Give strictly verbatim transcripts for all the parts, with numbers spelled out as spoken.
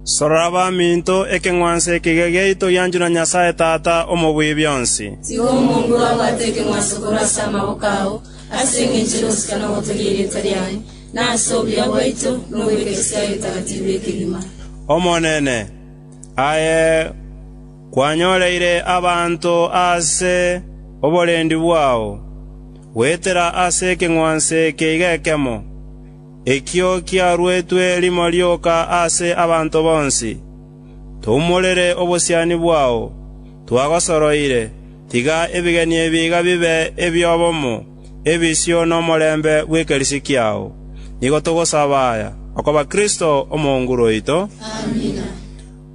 Sorora baminto ekeng'wanso ekige giaito gianchwa na Nyasae Tata omobui bionsi. Tiga omonguru abwate ekeng'wanso korwa ase amaboko ao, ase eng'encho y'ogosika na ogotogia erieta riaye, na ase obuya bwaito na obw'Ekeresia yaye Etagatifu ekegima. Omonene, aye kwanyoreire abanto ase oborendi bwao, goetera ase ekeng'wanso eke iga ekemo, ekio kiaruetwe rimo rioka ase abanto bonsi. Toumorere obosiani bwao, twagosoroire, tiga ebigeni ebi iga bibe ebi'obomo, ebisio n'omorembe bw'ekerisi kiao. Nigo togosaba aya, okoba Kristo omonguru oito. Amina.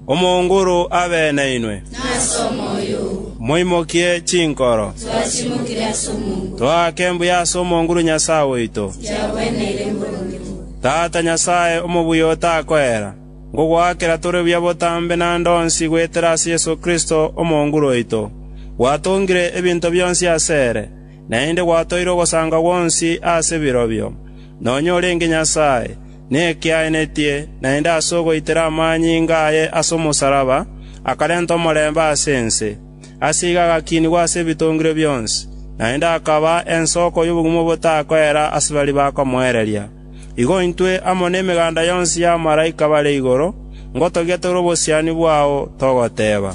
Omonguru abe nainwe. Nase omoyo oo. Moimokie chinkoro. Twachimokire ase omonguru. Toake mbuya ase omonguru Nyasae oito. Yagweneire mboronge bobe. Tata Nyasae omobuya otakoera, ngogoakera tore buya botambe naende onsi goetera ase Yeso Kristo omonguru oito. Gwatongire ebinto bionsi ase ere, naende gwatoire ogosanga gwonsi ase birobio. Nonya orenge Nyasae, nekiaenetie, naende ase ogoitera amanyinga aye ase omosalaba, akarenta omorembe ase ense. Ase igo agakinigwa ase ebitongire bionsi, naende akaba ensoko y'obogima botakoera ase baria bakomoereria. Igo intwe amo nemeganda yonsi y'abamalaika bare igoro, ngotogia tore obosiani bwao togoteba.